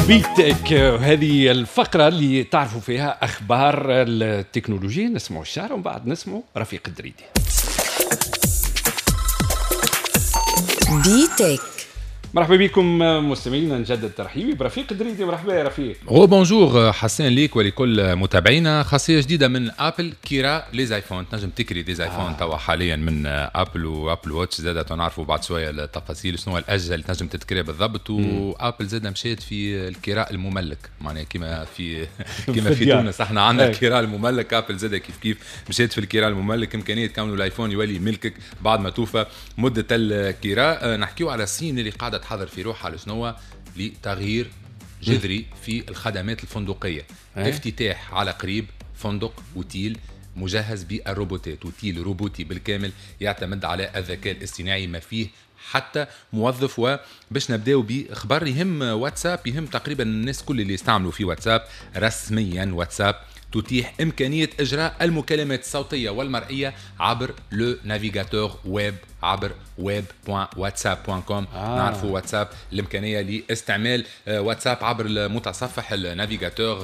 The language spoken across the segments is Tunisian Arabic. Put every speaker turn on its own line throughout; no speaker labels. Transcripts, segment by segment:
بيتك، هذه الفقرة اللي تعرفوا فيها أخبار التكنولوجيا. نسمعوا الشعر ومن بعد نسمعوا رفيق الدريدي.
بيتك.
مرحبا بكم مستمعينا، نجدد ترحيبي برفيق الدريدي. مرحبا يا رفيق.
rebonjour حسين ليك ولكل متابعينا. خاصية جديدة من ابل، كراء les iPhone. تنجم تكري des iPhone توا حاليا من ابل و Apple Watch زاد نعرفوا بعد شوية التفاصيل شنو الاجهزة اللي تنجم تتكري بالضبط. وابل زاد مشات في الكراء المملك، معناها كيما في تونس احنا عندنا الكراء المملك، ابل زاد كيف كيف مشات في الكراء المملك، امكانية كونه الايفون يولي ملكك بعد ما توفى مده الكراء. نحكيو على الصين اللي قاعدة تحضر في روحها لشنو؟ لتغيير جذري في الخدمات الفندقية. افتتاح على قريب فندق اوتيل مجهز بالروبوتات، اوتيل روبوتي بالكامل يعتمد على الذكاء الاصطناعي، ما فيه حتى موظف. وباش نبداو بخبر يهم واتساب، يهم تقريبا الناس كل اللي يستعملوا في واتساب. رسميا واتساب تتيح إمكانية إجراء المكالمات الصوتية والمرئية عبر le navigateur web، عبر web.whatsapp.com. نعرفوا واتساب الإمكانية لاستعمال واتساب عبر المتصفح ال navigateur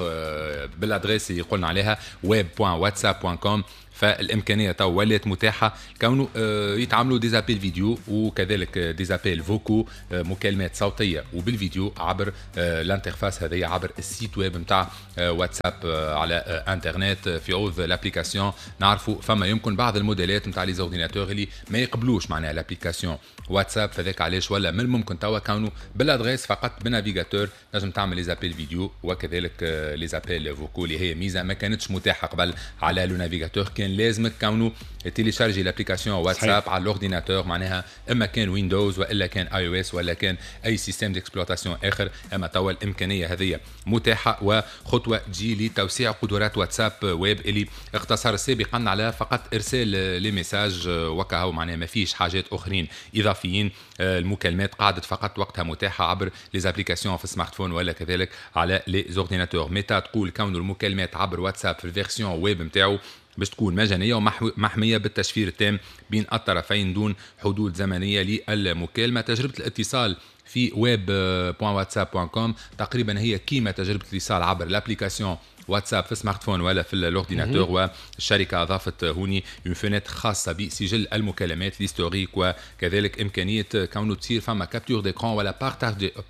بال adresse اللي قلنا عليها web.whatsapp.com. فالامكانيه تو ولات متاحة كونه يتعاملوا des appels vidéo وكذلك des appels vocaux، مكالمات صوتية وبالفيديو عبر l'interface هذه، عبر ال site web نتاع واتساب على انترنت في عوض l'application. نعرفوا فما يمكن بعض الموديلات نتاع les ordinateurs اللي ما يقبلوش معناها l'application واتساب، فذاك علاش ولا من الممكن توا كونه بال adresse فقط بال navigateur نجم تعمل les appels vidéo وكذلك les appels vocaux، اللي هي ميزة ما كانتش متاحة قبل على le navigateur. كان لازمك كونه télécharger l'application واتساب على l'ordinateur، معناها اما كان ويندوز والا كان iOS ولا كان اي système d'exploitation اخر. اما توا الامكانية هذه متاحة، وخطوه تجي لتوسيع قدرات واتساب ويب اللي اقتصر سابقا على فقط ارسال les messages وكهو، معناها ما فيش حاجات اخرين اضافيين. المكالمات قعدت فقط وقتها متاحة عبر les applications في ال smartphone ولا كذلك على les ordinateurs. ميتا تقول كون المكالمات عبر واتساب في ال version web نتاعو باش تكون مجانية ومحمية بالتشفير التام بين الطرفين دون حدود زمنية للمكالمة. تجربة الاتصال في web.whatsapp.com تقريبا هي كيما تجربة الاتصال عبر l'application واتساب في smartphone ولا في l'ordinateur. والشركة اضافت هوني une fenêtre خاصة بسجل المكالمات l'historique، وكذلك امكانية كونه تصير فما capture d'écran ولا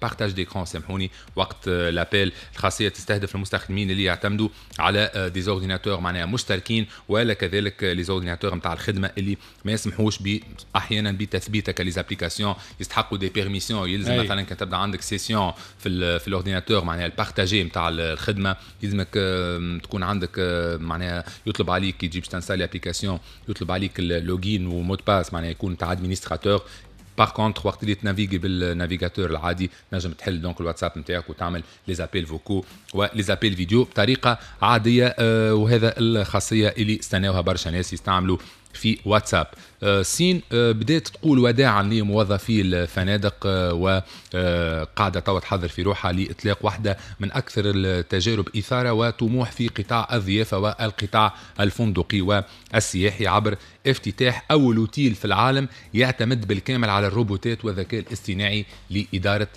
partage d'écran سامحوني وقت l'appel. الخاصية تستهدف المستخدمين اللي يعتمدوا على des ordinateurs معناها مشتركين، ولا كذلك les ordinateurs نتاع الخدمة اللي ما يسمحوش احيانا بتثبيتك les applications، يستحقوا des permissions. يلزم مثلا كان تبدا عندك session في l'ordinateur معناها ال partagé نتاع الخدمة، يلزمك تكون عندك معناها يطلب عليك كي تجي باش تنستالي application يطلب عليك ال login و mot de passe، معناها يكون تاع administrateur. par contre وقت اللي تنافيغي بال navigateur العادي نجم تحل donc الواتساب نتاعك وتعمل les appels vocaux و les appels vidéo بطريقة عاديه. وهذا الخاصية اللي استناوها برشا ناس يستعملوا في واتساب. الصين بدات تقول وداعا لموظفي الفنادق، وقاعدة توا تحضر في روحها لاطلاق واحدة من اكثر التجارب اثاره وطموح في قطاع الضيافة والقطاع الفندقي والسياحي، عبر افتتاح اول اوتيل في العالم يعتمد بالكامل على الروبوتات والذكاء الاصطناعي لادارة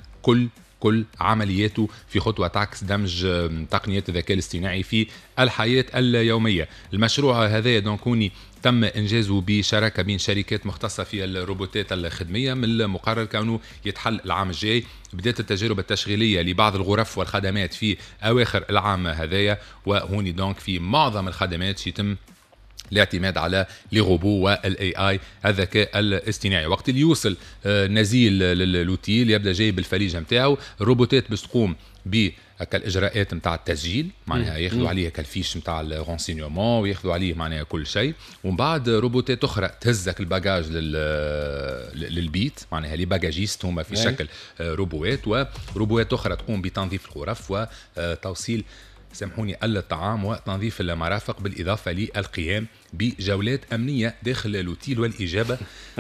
كل عملياته، في خطوة تعكس دمج تقنيات الذكاء الاصطناعي في الحياة اليومية. المشروع هذا donc هوني تم إنجازه بشراكة بين شركات مختصة في الروبوتات الخدمية، من المقرر كونه يتحل العام الجاي. بدأت التجارب التشغيلية لبعض الغرف والخدمات في أواخر العام هذايا، وهوني donc في معظم الخدمات يتم الاعتماد على les robots وال AI الذكاء الاصطناعي. وقت اللي يوصل نزيل للوتيل يبدا جايب الفاليجه نتاعو، الروبوتات باش تقوم ب هكا الاجراءات نتاع التسجيل، معناها ياخذوا عليه هكا ال fiche نتاع ال renseignements وياخذوا عليه معناها كل شيء، ومن بعد روبوتات اخرى تهزك ال bagage للبيت، معناها les bagagistes هما في شكل روبوات، وروبوات اخرى تقوم بتنظيف الغرف وتوصيل سامحوني الطعام وتنظيف المرافق، بالاضافة للقيام بجولات امنية داخل الاوتيل والاجابة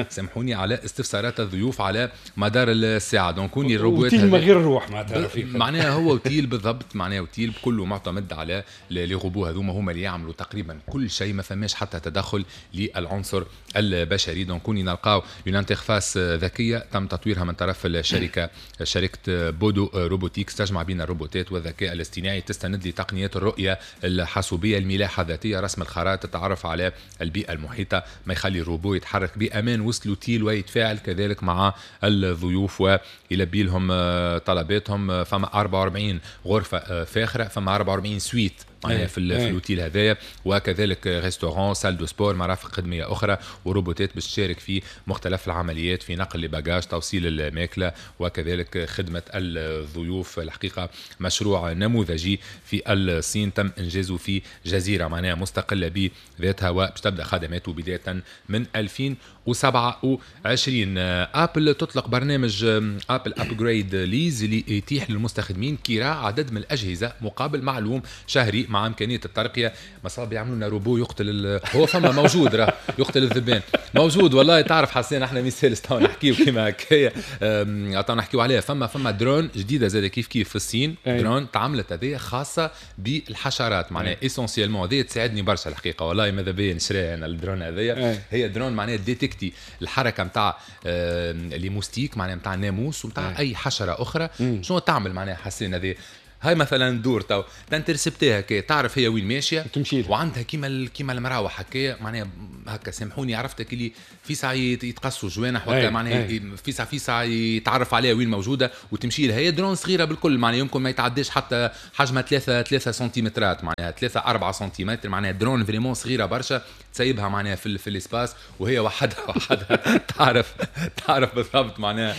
سامحوني على استفسارات الضيوف على مدار الساعه. donc هوني الروبوت
اوتيل من غير روح معناتها.
معناها هو اوتيل بالضبط، معناها اوتيل كله معتمد على les robots هذوما، هما اللي يعملوا تقريبا كل شيء، ما فماش حتى تدخل للعنصر البشري. donc هوني نلقاو une interface ذكية تم تطويرها من طرف الشركة شركة Pudu Robotics، تجمع بين الروبوتات والذكاء الاصطناعي، تستند لتقنيات الرؤية الحاسوبيه، الملاحة الذاتيه، رسم الخرائط، التعرف على البيئة المحيطه، ما يخلي الروبو يتحرك بامان وسط الاوتيل ويتفاعل كذلك مع الضيوف ويلبي لهم طلباتهم. فما 44 غرفة فاخره، فما 44 suite معناها في الاوتيل هذايا، وكذلك restaurant، salle de sport، مرافق خدميه اخرى، وروبوتات باش تشارك في مختلف العمليات في نقل ال bagages، توصيل الماكله، وكذلك خدمة الضيوف. الحقيقة مشروع نموذجي في الصين تم انجازه في جزيرة معناها مستقلة بذاتها، وباش تبدا خدماته بداية من 2027. ابل تطلق برنامج Apple Upgrade Lease اللي يتيح للمستخدمين كراء عدد من الاجهزة مقابل معلوم شهري مع امكانية الترقيه. مصاب يعملوا لنا روبو يقتل هو فما موجود راه يقتل الذبان موجود والله. تعرف حسين احنا مثال تو نحكيو كيما هكايا نحكيو عليها. فما درون جديدة زاد كيف كيف في الصين، درون تعملت هذه خاصة بالحشرات معناها essentiellement، هذه تساعدني برشا الحقيقة والله، ماذا بيا نشريها انا الدرون هذيا. هي درون معناها détecter الحركة نتاع les moustiques معناها نتاع الناموس ونتاع اي حشرة اخرى. شنو تعمل معناها حسين هذه؟ هاي مثلا دور تو ت intercepter ها هكا، تعرف هي وين ماشية
تمشي،
وعندها كيما المراوح هكا معناها هكا، سامحوني عرفتك اللي في ساعة يتقصوا جوانح وهكا معناها في ساعة يتعرف عليها وين موجودة وتمشي لها. هي درون صغيرة بالكل معناها يمكن ما يتعداش حتى حجمها 3 سنتيمترات معناها 3 4 سنتيمتر، معناها drone vraiment صغيرة برشا، تسيبها معناها في ال espace وهي وحدها تعرف بالضبط معناها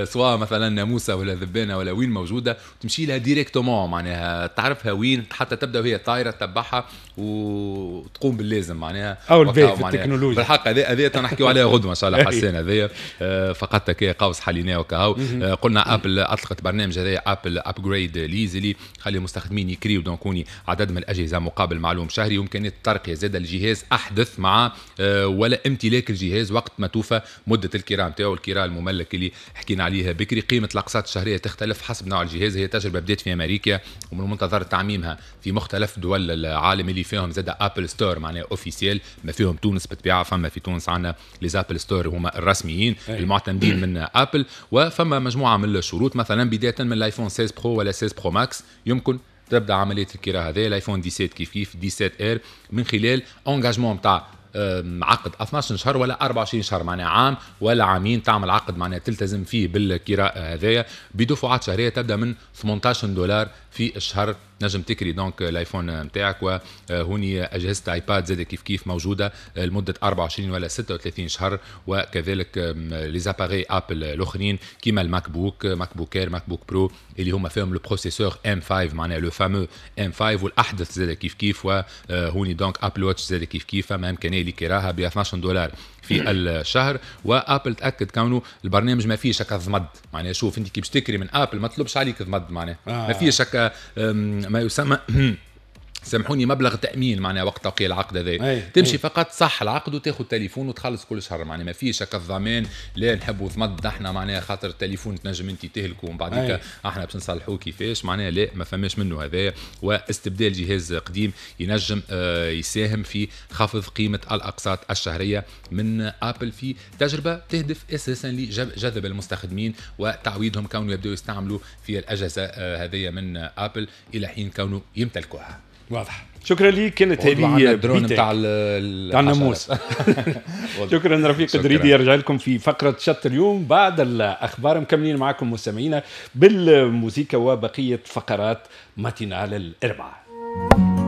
سواء مثلا ناموسه ولا ذبانه ولا وين موجودة، تمشي لها directement معناها تعرفها وين، حتى تبدا وهي طايره تتبعها وتقوم باللازم معناها.
او البيت في التكنولوجيا
بالحق هذه نحكيو عليها غدوه ان شاء الله حسين. هذه فقط كي قوس حليناه وكهو. قلنا ابل اطلقت برنامج هذا Apple Upgrade Lease اللي يخلي المستخدمين يكريو donc هوني عدد من الاجهزة مقابل معلوم شهري، وامكانية الترقية زاد الجهاز احدث مع ولا امتلاك الجهاز وقت ما توفى مده الكراء نتاعو، الكراء المملك اللي حكينا عليها بكري. قيمة الاقساط الشهرية تختلف حسب نوع الجهاز. هي تجربه بدات في امريكا ومن المنتظر تعميمها في مختلف دول العالم اللي فيهم زاد Apple Store معناها officiel، ما فيهم تونس بالطبيعة، فما في تونس عندنا les Apple Store هما الرسميين المعتمدين من ابل. وفما مجموعة من الشروط، مثلا بداية من ال iPhone 16 Pro ولا 16 Pro Max يمكن تبدا عملية الكراء هذا، ال iPhone 17 كيف كيف 17 R، من خلال engagement تاع عقد 12 شهر ولا 24 شهر معناها عام ولا عامين، تعمل عقد معناها تلتزم فيه بالكراء هذايا بدفعات شهرية تبدا من $18 في الشهر. نجم تكري donc ال iPhone نتاعك. وهوني اجهزة iPad زاد كيف كيف موجودة لمدة 24 ولا 36 شهر، وكذلك les appareils Apple الاخرين كيما ال MacBook، MacBook Air، MacBook Pro اللي هما فيهم le processeur M5 معناها le fameux M5 والاحدث زاد كيف كيف. وهوني donc Apple Watch زاد كيف كيف فما امكانية لكراها ب $12 في الشهر. وابل تاكد كونه البرنامج ما فيهش هكا ضمد، معناها شوف انت كي باش تكري من ابل ما تطلبش عليك ضمد، معناها ما فيهش هكا ما يسمى سامحوني مبلغ تامين معناها وقت توقيع العقد هذا، تمشي فقط صح العقد وتاخذ تليفون وتخلص كل شهر، معناها ما فيش هكا الضمان لا نحبوا ضمد احنا معناها خاطر التليفون تنجم انت تهلكه ومن بعديك احنا باش نصلحوه كيفاش، معناها لا ما فماش منه هذا. واستبدال جهاز قديم ينجم يساهم في خفض قيمة الاقساط الشهرية من ابل في تجربه تهدف اساسا لجذب المستخدمين وتعويدهم كونوا يبداوا يستعملوا في الاجهزة هذه من ابل الى حين كونوا يمتلكوها.
واضح. شكرا لي، كانت هذه
الدرون نتاع
الناموس. شكرا رفيق دريدي، يرجع لكم في فقرة شط اليوم بعد الأخبار. مكملين معكم مستمعينا بالموسيقى وبقية فقرات matinale الأربعة.